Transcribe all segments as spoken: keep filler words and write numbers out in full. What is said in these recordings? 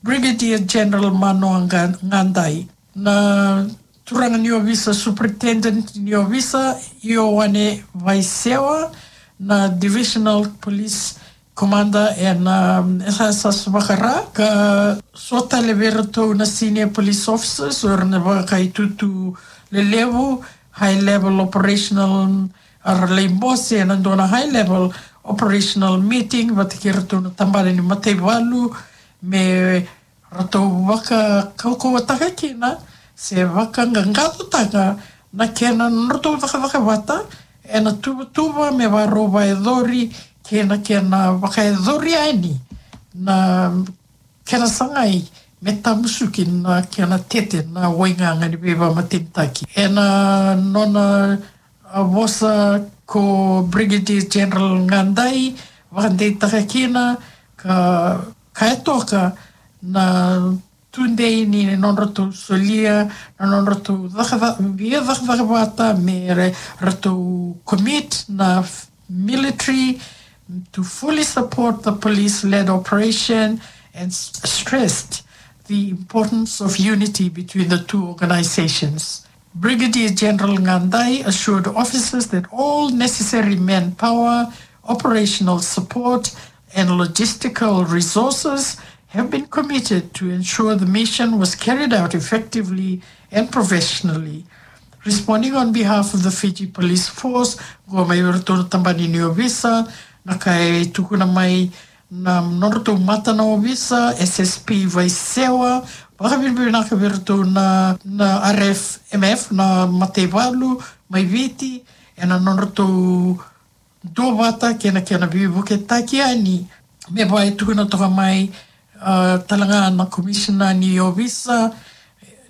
Brigadier General Manoa Ga-, Gadai, na turaga ni ovisa, Superintendent ni ovisa, Ioane Vaisewa, na Divisional Police Commander ena, um, S S S Vakara, ka so tale vei iratou na senior police officers, o ira na vakaitutu lelevu, high level operational, era lai bose ena dua na high level operational meeting vata kei iratou na tabana ni mataivalu, me ratou vakakaukauwataka kina se vakaqaqacotaka na kena nodratou cakacaka vata ena tuvatuva me varau vakayacori kei na kena vakayacori yani na kena sagai me tamusuki na kena tete na waigaga ni veivakamatenitaki. Ena nona a vosa ko Brigadier General Gadai, vakadeitaka kina ka, ka e toka na tudei ni nodratou solia na nodratou caka-, via cakacaka vata me ra-, ratou commit na f-, military to fully support the police-led operation and s-, stressed the importance of unity between the two organizations. Brigadier General Gadai assured officers that all necessary manpower, operational support, and logistical resources have been committed to ensure the mission was carried out effectively and professionally. Responding on behalf of the Fiji Police Force, qo mai vei iratou na tabana ni ovisa, na ka e tukuna mai na nodratou mata na ovisa, S S P Vaisewa, vakavinavinaka vei iratou na, na R F M F, na mataivalu mai Viti, ena nodratou duavata kei na kena veivuketaki yani. Me vaka e tukuna toka mai, a, tale ga na komisina ni ovisa,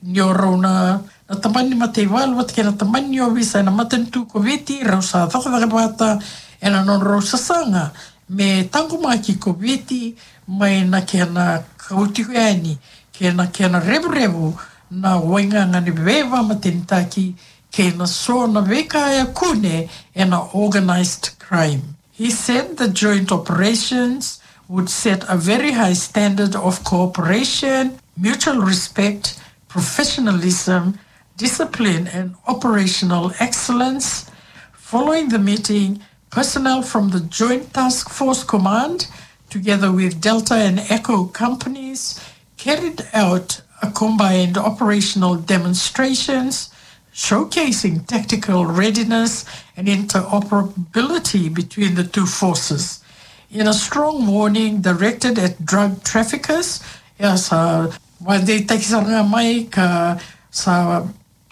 ni o rau na, na tabana ni mataivalu vata kei na tabana ni ovisa ena matanitu ko Viti, rau sa cakacaka vata ena nodrau sasaga me taqomaki ko Viti mai na kena kau tiko yani kei na kena revurevu na waigaga ni veivakamatenitaki kei na so na veika e kune ena organized crime. He said the joint operations would set a very high standard of cooperation, mutual respect, professionalism, discipline, and operational excellence. Following the meeting, personnel from the Joint Task Force Command, together with Delta and Echo companies, carried out a combined operational demonstrations showcasing tactical readiness and interoperability between the two forces. In a strong warning directed at drug traffickers, ia sa vakadeitaki sara ga mai ka sa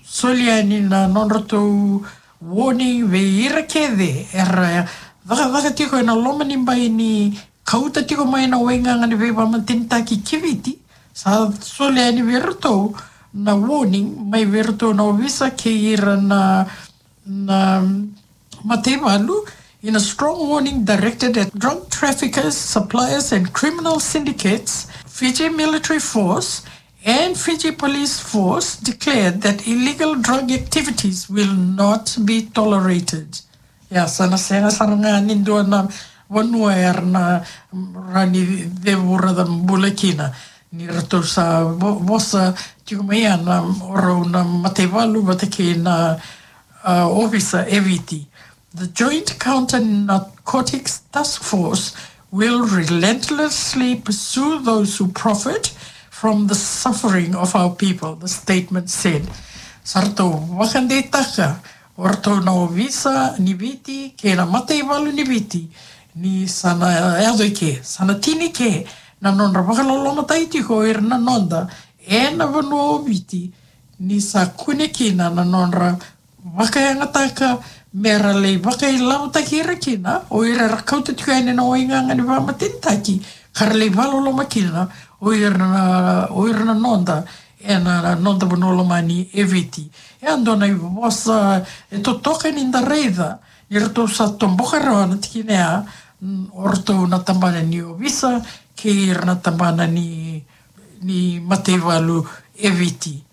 soli yani na nodratou warning vei ira kece era cakacaka tiko ena loma ni bai ni kauta tiko mai na waigaga ni veivakamatenitaki ki Viti. Sa soli yani vei iratou na warning mai vei iratou na ovisa kei ira na, na mataivalu. In a strong warning directed at drug traffickers, suppliers, and criminal syndicates, Fiji Military Force and Fiji Police Force declared that illegal drug activities will not be tolerated. Ia, sa na sega sara ga ni dua na vanua era na rawa ni cevura ca bula kina. Ni ratou sa vo-, vosa tiko mai ya na o rau na mataivalu vata kei na, a, ovisa e Viti. The Joint Counter Narcotics Task Force will relentlessly pursue those who profit from the suffering of our people, the statement said. Sa ratou vakadeitaka o ratou na ovisa ni Viti kei na mataivalu ni Viti ni sa na yaco i ke, sa na tini ke na nodra vakalolomataki tiko o ira na noda ena vanua o Viti, ni sa kune kina na nodra vakayagataka me ra lai vakailavotaki ira kina o ira era kauta tiko yani na waigaga ni vakamatenitaki, ka ra lai vakaloloma kina o ira na, o ira na noda ena noda vanua lomani e Viti. E a dua na ivosa e totoka ni da raica ni ratou sa toboka rawa na tikina ya, mm, o ratou na tabana ni ovisa kei ira na tabana ni, ni mataivalu e Viti.